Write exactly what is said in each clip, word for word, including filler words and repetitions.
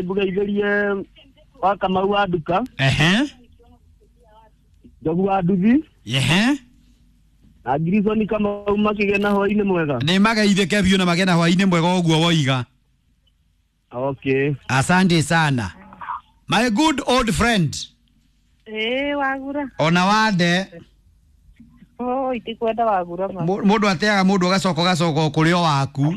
Ngũgeithĩrie wa Kamau wa nduka. Ehe. Njogu wa nduthi. Ehe. Na Grison Kamau makĩgĩa na hwainĩ mwega. Nĩ mageithĩke biũ na magĩe na hwainĩ mwega ũguo woiga. Okay. Asante sana. My good old friend. Ĩĩ wagura. Ona wande. Oh, itikwenda wagura ma. Mũndũ ateaga mũndũ agacoka ũgacoka o kũrĩ o waku.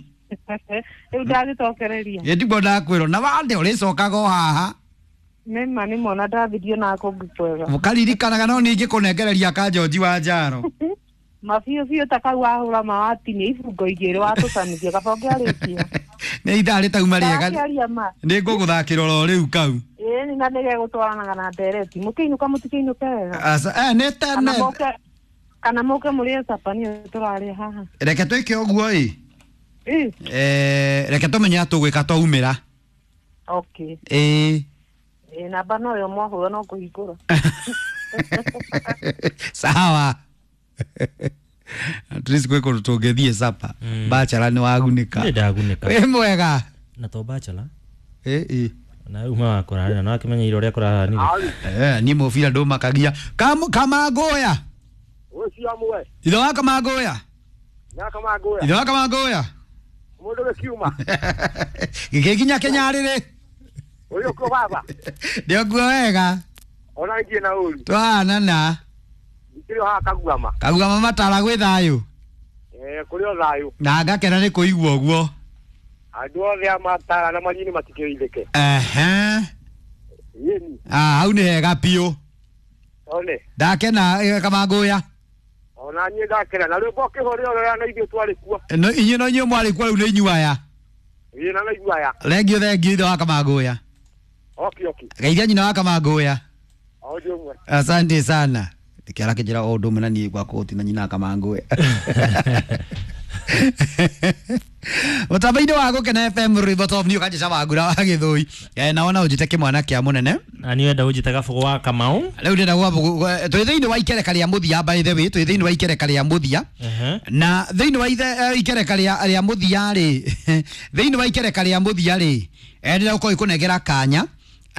Rĩu ndagĩcokereria. Ĩ ndiguo ndakwĩrwo na wande ũrĩcokaga o haha. Nĩma nĩmona ndathirio na kũngĩ kwega. Mũkaririkanaga no ningĩ kũnengereria ka George wa Njaro. Mabiũ biũ ta kau wahũra ma watinia ibungo igĩrĩ watũcanithia kaba ũngĩarĩkia. Nĩ ithaa rĩtauma rĩega. Ndakĩaria ma. Nĩ ngũgũthakĩra oro rĩu kau. Ĩĩ na nĩgegũtwaranaga na ndereti. Mũkĩinũka mũtikĩinũke wega. Aca eh nĩ Kana tene. mũke kana mũke mũrĩe capa nĩyo tũrarĩa haha. Reke twĩke ũguo ĩ. Ĩ. Eh reke tũmenye atũgwĩka twaumĩra. Okay. Ĩ. Ĩ namba no yo mwahũra no kũhingũra. Sawa. At least gwĩ kũndũ tũngĩthiĩ capa. Bachelor nĩ wagunĩka. Nĩ ndagunĩka. Wĩ mwega. Na to bachelor. Ĩ ĩ. Na rĩu ma wakora na wakĩmenyeire ũrĩa kũrahanire. Eh niĩ mũbira ndũmakagia. Kam Kamangũya. Ũcio amwe. Ithe wa Kamangũya. Na Kamangũya. Ithe wa Kamangũya. Mũndũ gĩkiuma. Gĩgĩkinya Kĩnyarĩrĩ. Ũyũ kũ baba. Ndĩokuo wega. Ona ngiĩ na ũru. Twahanana. Ndikĩrĩ o haha Kaguama. Kaguama matara gwĩ thayũ. Eh kũrĩ o thayũ. Na ngakena nĩ kũigua ũguo. Andũ othe a matara na manyini matikĩrithĩke. Ehe. Yeni. Ah hau nĩ hega biũ. One. Ndakena eh, Kamangũya. Ona niĩ ndakena na rwĩmbo ũkĩhũrĩra ũrĩa na ithuĩ twarĩ kuo. No inyuĩ no inyuĩ mwarĩ kuo rĩu nĩ inyuĩ aya. Ĩĩ na inyuĩ aya. Thengio thengio ithe wa Kamangũya. Oki oki. Geithia nyina wa Kamangũya. O ũndũ ũmwe. Asante sana. Kĩara kĩnjĩra o ũndũ ũmwe na niĩ gwakwa gũtirĩ na nyina wa Kamangũya. Mũtambo-inĩ wa Gũkena F M rwĩmbo top nĩ ũkanjĩca wangura wa Gĩthũi. Eh, na wona ũnjĩte kĩmwana kĩa mũnene. Na niĩ wenda ũnjĩte Gabũgũ wa Kamau. Rĩu ndĩrenda gwa twĩ thĩinĩ wa ikereka rĩa mũthia by the way, twĩ thĩinĩ wa ikereka rĩa mũthia. Ehe. Na thĩinĩ wa ithe eh, ikereka rĩa rĩa mũthia rĩ, thĩinĩ wa ikereka rĩa mũthia rĩ, eh, ndĩrenda gũkorwo ikũnengera kanya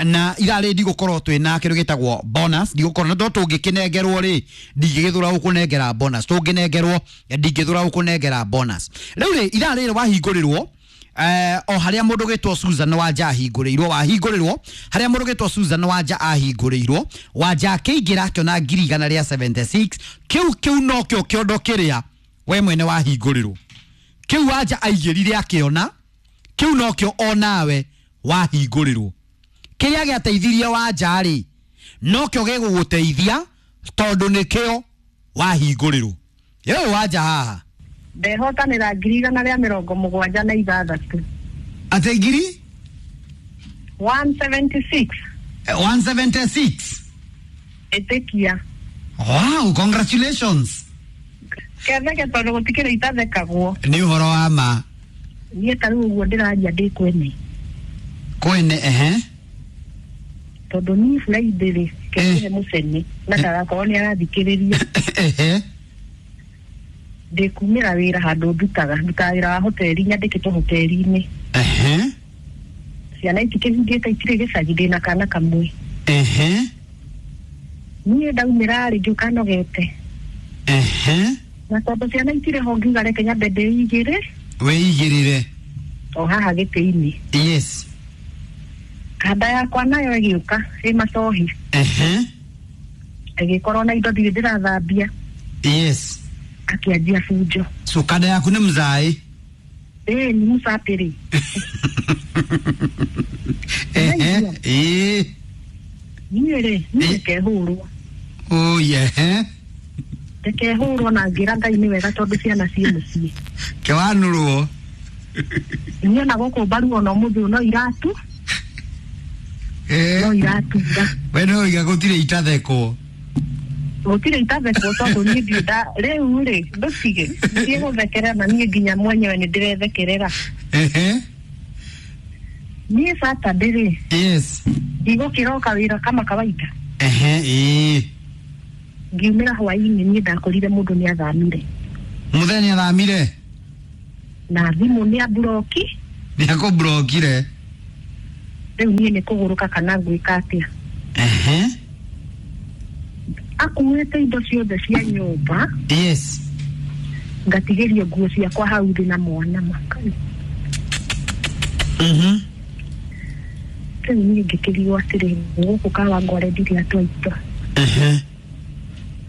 na ithaa rĩ ndigũkorwo twĩ na kĩndũ gĩtagwo bonus, ndigũkorwo na no tũngĩkĩnengerwo rĩ, ndingĩgĩthũra gũkũnengera bonus, tũngĩnengerwo ndingĩthũra gũkũnengera bonus. Rĩu rĩ ithaa rĩrĩ wahingũrĩrwo eh, o harĩa mũndũ gĩtwo Susan Wanja ahingũrĩirwo, wahingũrĩrwo harĩa mũndũ gĩtwo Susan Wanja ahingũrĩirwo, Wanja akĩingĩra akĩona ngiri igana rĩa seventy six, kĩu kĩu nokĩo kĩondo kĩrĩa we mwene wahingũrĩrwo, kĩu Wanja aigĩrire akĩona, kĩu nokĩo onawe wahingũrĩrwo. Kĩrĩa gĩateithirie Wanja rĩ nokĩo gĩgũgũteithia tondũ nĩkĩo wahingũrĩrwo. Ĩĩ Wanja haha Ndehotanĩra ngiri igana rĩa mĩrongo mũgwanja na ithathatũ. Atĩ ngiri? one seventy six. one seventy six. Ĩtĩkia. Wow, congratulations. Ketheke tondũ gũtikĩrĩ itathekagwo. Nĩ ũhoro wa ma. Niĩ ta rĩu ũguo ndĩraria ndĩ kwene. Kwene ehe. Tondũ niĩ Friday rĩ, kĩhe mũcene na ndagakorwo nĩ arathikĩrĩria. Ehe. Ndĩkumĩra wĩra handũ ndutaga, ndutaga wĩra wa hoteli, nyandĩkĩtwo hoteli-inĩ. Ehe. Ciana itikĩhingĩte itirĩ gĩcagi, ndĩna kana kamwe. Ehe. Niĩ ndaumĩra rĩ ngĩũka nogete. Ehe. Na tondũ ciana itirĩ ho ngiuga reke nyambe ndĩigĩre. Wĩigĩrĩre. O haha gĩtĩ-inĩ. Yes. Kanda yakwa nayo ĩgĩũka ĩ macohi. Ehe. Ĩgĩkorwo na indo ndirĩ ndĩrathambia. Yes. Akĩanjia bunjo. So kanda yaku nĩ mzaĩ? Ĩĩ nĩ mũcapĩrĩ. Ehe. Ĩĩ. Niĩ rĩ, niĩ ndikehũrwo. Oh yeah. Ndikehũrwo na ngĩra Ngai nĩ wega tondũ ciana ciĩ mũciĩ. Kĩwanũrwo. Niĩ ona gũkũ mbaru ona ũmũthĩ no iratu. Eh. No iratura. We no iga gũtirĩ itathekwo. Gũtirĩ itathekwo tondũ niĩ ndirĩ nda rĩu rĩ ndũtige ndirĩ gũthekerera na niĩ nginya mwenyewe nĩ ndĩrethekerera. Ehe. Niĩ Saturday rĩ. Yes. Ndigũkĩroka wĩra kama kawaida. Ehe, ĩĩ. Ngiumĩra hwaĩ-inĩ niĩ ndakorire mũndũ nĩ athamire. Mũthenya nĩ athamire? Na thimũ nĩ amburoki. Nĩ akũmburokire. Rĩu niĩ nĩ kũgũrũka kana ngwĩka atĩa? Ehe. Akuĩte indo ciothe cia nyũmba. Yes. Ngatigĩrio nguo ciakwa hau thĩ na mwana makai. Mhm. Rĩu niĩ ngĩkĩrigwo atĩrĩ, gũkũ Kawangware ndirĩ andũ aitũ. Ehe.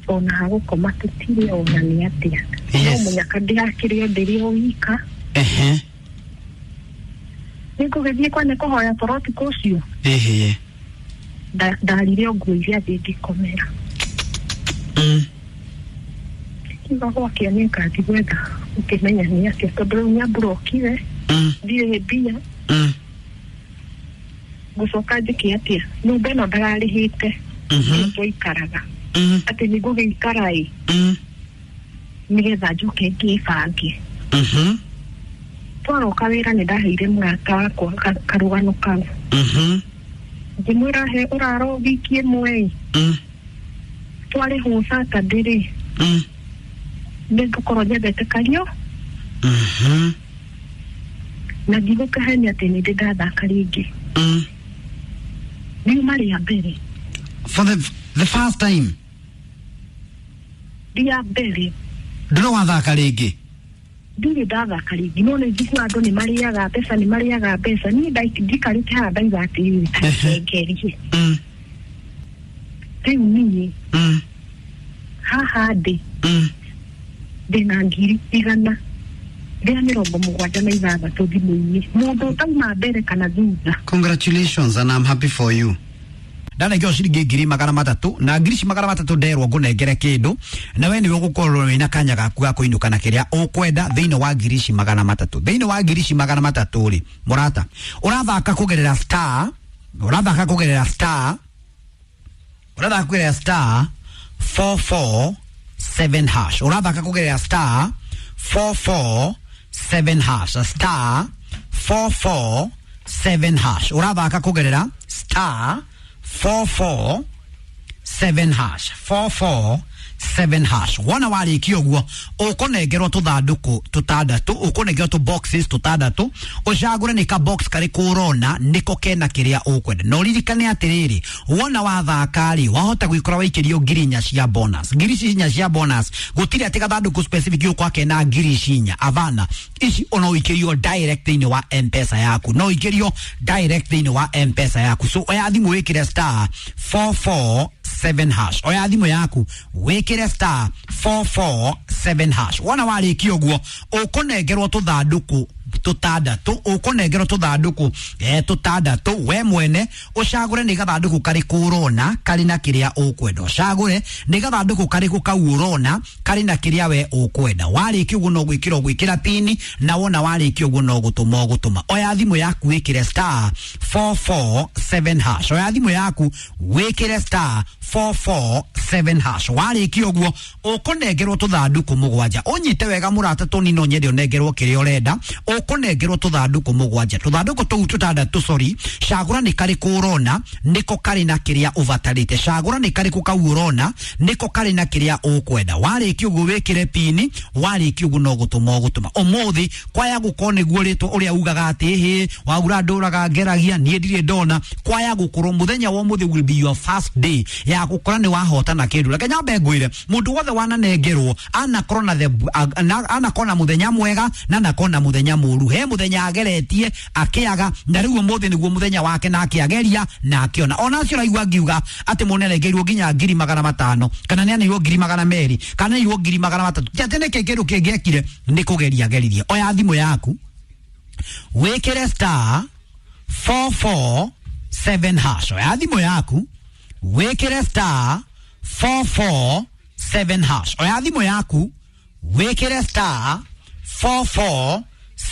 Ona hagũkoma tũtirĩ ona nĩ atĩa. Yes. No mũnyaka ndĩrakĩrĩ o ndĩrĩ o wika. Ehe. Nĩngũgĩthiĩ kwa nĩ kũhoya toro ũtukũ ũcio. Ehe. Nda- ndarire o nguo iria thĩ ngĩkomera. Mm. Kiuga gwakĩa nĩ ngathiĩ gwetha ũkĩmenya nĩ atĩa, tondũ rĩu nĩamburokire. Mm. Ndirĩ mbia. Mm. Ngũcoka njĩke atĩa? Nyũmba ĩno ndararĩhĩte. Mhm. Twaikaraga. Mm. Atĩ nĩngũgĩikara ĩ Mm. nĩgetha njoke ngĩbange. Mhm. Twaroka wĩra nĩ ndaheire mũrata wakwa ka- karũgano kau. Mhm. Ngĩmwĩra he ũraro wiki ĩmwe ĩ. Mm. Twarĩhwo Saturday rĩ, Mm. nĩngũkorwo nyendete kario. Mhm. Na ndigũkĩhenia atĩ nĩ ndĩ ndathaka rĩngĩ. Mm. Riuma rĩa mbere. For the the first time. Rĩa mbere. Ndũrĩ wathaka rĩngĩ? Ndirĩ ndathaka rĩngĩ, no nĩ njiguaga andũ nĩ marĩaga mbeca, nĩ marĩaga mbeca. Niĩ ndai- ndikarĩte haha ndauga atĩrĩrĩ, Ehe. ngerie. Mm. Rĩu niĩ Mm. haha ndĩ Mm. ndĩna ngiri igana rĩa mĩrongo mũgwanja na ithathatũ thimũ-inĩ. Mũndũ ũtauma mbere kana thutha. Congratulations and I'm happy for you. Ndanengerwo ciringi ngiri magana matatũ na ngiri ici magana matatũ nderwo ngũnengere kĩndũ na we nĩwe ũgũkorwo wĩna kanya gaku ga kũinũka na kĩrĩa ũkwenda thĩinĩ wa ngiri ici magana matatũ. Thĩinĩ wa ngiri ici magana matatũ rĩ, mũrata, ũrathaka kũgerera star, ũrathaka kũgerera star, ũrathaka kũgerera star four four seven hash. Ũrathaka kũgerera star four four seven hash. Star four four seven hash. Ũrathaka kũgerera star four four seven hash. four four seven hash. Wona warĩkia ũguo ũkũnengerwo tũthandũkũ tũtandatũ, ũkũnengerwo tũ boxes tũtandatũ, ũcagũre nĩ ka box karĩkũ ũrona nĩko kena kĩrĩa ũkwenda. Na ũririkane atĩrĩrĩ, wona wathaka rĩ, wahota gwĩkora waikĩrio ngiri inya cia bonus. Ngiri ici inya cia bonus gũtirĩ atĩ gathandũkũ specific ũkwa kena ngiri ici inya, avana ici ona ũikĩrio direct thĩinĩ wa M-Pesa yaku, no ũikĩrio direct thĩinĩ wa M-Pesa yaku. So oya thimũ wĩkĩre star four four seven hash. Oya thimũ yaku wĩkĩre star four four seven hash. Wona warĩkia ũguo ũkũnengerwo tũthandũkũ tũtandatũ, ũkũnengerwo tũthandũkũ eh, tũtandatũ. We mwene ũcagũre nĩ gathandũkũ karĩkũ ũrona karĩ na kĩrĩa ũkwenda. Ũcagũre nĩ gathandũkũ karĩkũ kau ũrona karĩ na kĩrĩa we ũkwenda. Warĩkia ũguo no gwĩkĩra ũgwĩkĩra pini, na wona warĩkia ũguo no gũtũma ũgũtũma. Oya thimũ yaku wĩkĩre star four four seven hash. Oya thimũ yaku wĩkĩre star four four seven hash. Warĩkia ũguo ũkũnengerwo tũthandũkũ mũgwanja. Ũnyite wega mũrata, tũni no nyende ũnengerwo kĩrĩa ũrenda. Ũkũnengerwo tũthandũkũ mũgwanja, tũthandũkũ tũu tũtandatũ, sorry. Cagũra nĩ karĩkũ ũrona nĩko karĩ na kĩrĩa ũbatarĩte. Cagũra nĩ karĩkũ kau ũrona nĩko karĩ na kĩrĩa ũkwenda. Warĩkia ũguo wĩkĩre pini, warĩkia ũguo no gũtũma ũgũtũma. Ũmũthĩ kwaya gũkorwo nĩguo rĩtwa ũrĩa ugaga atĩ hĩ waura ndũraga ngeragia niĩ ndirĩ ndona, kwaya gũkorwo mũthenya wa ũmũthĩ will be your first day ya gũkora nĩ wahotana kĩndũ. Reke nyambe ngwĩre mũndũ wothe wananengerwo anakorwo na the anakorwo na mũthenya mwega na anakorwo na mũthenya mũru. He mũthenya ageretie akĩaga, na rĩu ũmũthĩ nĩguo mũthenya wake na akĩageria na akĩona. Ona acio ũraigua ngiuga atĩ mũndũ nĩanengerirwo nginya ngiri magana matano kana nĩaneirwo ngiri magana merĩ kana nĩaneirwo ngiri magana matatũ, ti atĩ nĩkĩ kĩndũ kĩngĩ ekire, nĩ kũgeria ageririe. Oya thimũ yaku wĩkĩre star four four seven hash. Oya thimũ yaku wĩkĩre star four four seven hash. Oya thimũ yaku wĩkĩre star four four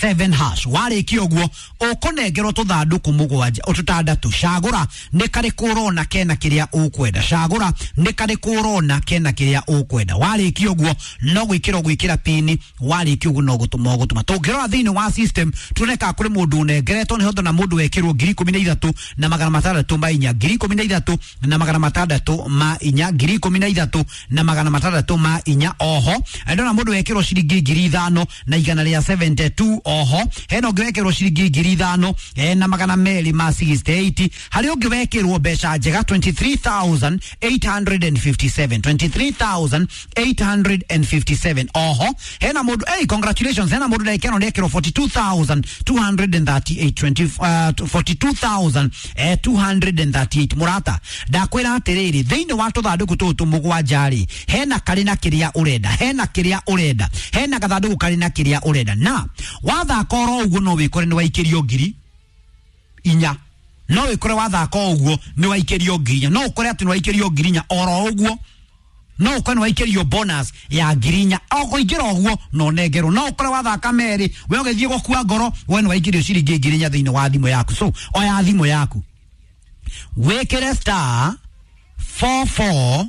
seven hash. Warĩkia ũguo ũkũnengerwo tũthandũkũ mũgwanja tũtandatũ. Cagũra nĩ karĩkũ ũrona kena kĩrĩa ũkwenda. Cagũra nĩ karĩkũ ũrona kena kĩrĩa ũkwenda. Warĩkia ũguo no gwĩkĩra ũgwĩkĩra pini, warĩkia ũguo no gũtũma ũgũtũma. Tũngĩrora thĩinĩ wa system tuone kana kũrĩ mũndũ ũnengeretwo, nĩ hotha na mũndũ wekĩrwo ngiri ikũmi na ithatũ na magana matandatũ ma inya, ngiri ikũmi na ithatũ na magana matandatũ ma inya, ngiri ikũmi na ithatũ na magana matandatũ ma inya. Oho ndona mũndũ wekĩrwo ciringi ngiri ithano na igana rĩa seventy two. Oho hena ũngĩ wekĩrwo ciringi ngiri ithano eh, na magana merĩ ma sixty-eight. Harĩ ũngĩ wekĩrwo mbeca njega twenty-three thousand eight hundred fifty-seven, twenty-three thousand eight hundred fifty-seven. Oho hena mũndũ, hey, congratulations, hena mũndũ ndagĩka ĩno nĩekĩrwo forty-two thousand two hundred thirty-eight, twenty, uh, forty-two thousand two hundred thirty-eight. Mũrata, ndakwĩra atĩrĩrĩ, thĩinĩ wa tũthandũkũ tũtũ mũgwanja rĩ, hena karĩ na kĩrĩa ũrenda, hena kĩrĩa ũrenda, hena gathandũkũ karĩ na kĩrĩa ũrenda. Na wathaka oro ũguo no wĩkore nĩ waikĩrio ngiri inya, no wĩkore wathaka o ũguo nĩ waikĩrio ngiri inya, no ũkore atĩ nĩ waikĩrio ngiri inya oro ũguo, no ũkore nĩ waikĩrio bonus ya ngiri inya o kũingĩra ũguo no nengerwo, no ũkore wathaka merĩ we ũgĩthiĩ gũkua ngoro we nĩ waikĩrio ciringi ngiri inya thĩinĩ wa thimũ yaku. So oya thimũ yaku, wĩkĩre star four four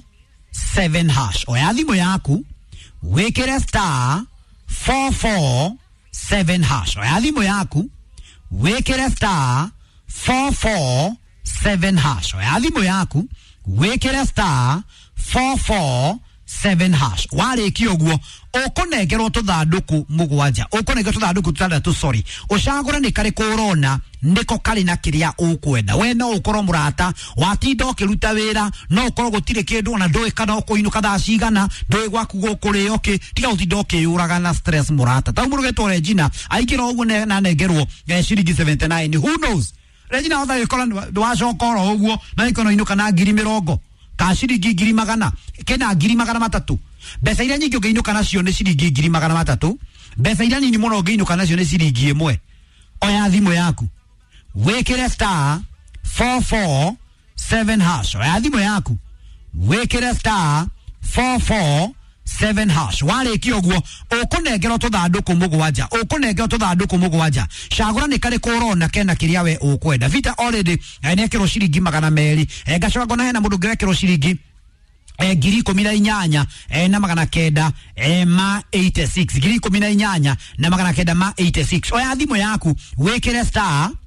seven hash. Oya thimũ yaku, wĩkĩre star four four seven hash. Oya thimũ yaku, wĩkĩre star four four seven hash. Oya thimũ yaku, wĩkĩre star four four seven hash. Warĩkia ũguo ũkũnengerwo tũthandũkũ mũgwanja, ũkũnengerwo tũthandũkũ tũtandatũ, sorry, ũcagũre nĩ karĩkũ ũrona nĩko karĩ na kĩrĩa ũkwenda. We no ũkorwo mũrata watinda ũkĩruta wĩra, no ũkorwo gũtirĩ kĩndũ ona ndũĩ kana ũkũinũka thaa cigana, ndũĩ gwaku gũkũrĩo kĩ, tiga gũtinda ũkĩyũraga na stress, mũrata. Ta mũndũ getwo Regina aingĩra ũguo ne- na nengerwo eh, ciringi seventy-nine. Who knows, Regina hota gĩkora ndwacoka oro ũguo na ikono inũka na ngiri mĩrongo ka ciringi ngiri magana kena ngiri magana matatũ. Mbeca iria nyingĩ ũngĩinũka nacio nĩ ciringi ngiri magana matatũ, mbeca iria nini mũno ũngĩinũka nacio nĩ ciringi ĩmwe. Oya thimũ yaku, wĩkĩre star four four seven hash. Oya thimũ yaku, wĩkĩre star four four seven hash. Warĩkia ũguo ũkũnengerwo tũthandũkũ mũgwanja, ũkũnengerwo tũthandũkũ mũgwanja, cagũra nĩ karĩkũ ũrona kena kĩrĩa we ũkwenda. Vita already eh, nĩekĩrwo ciringi magana merĩ. eh, ngacoka ngona hena mũndũ ũngĩ wekĩrwo ciringi eh, ngiri ikũmi na inyanya eh, na magana kenda eh, ma eighty-six, ngiri ikũmi na inyanya na magana kenda ma eighty-six. Oya thimũ yaku, wĩkĩre star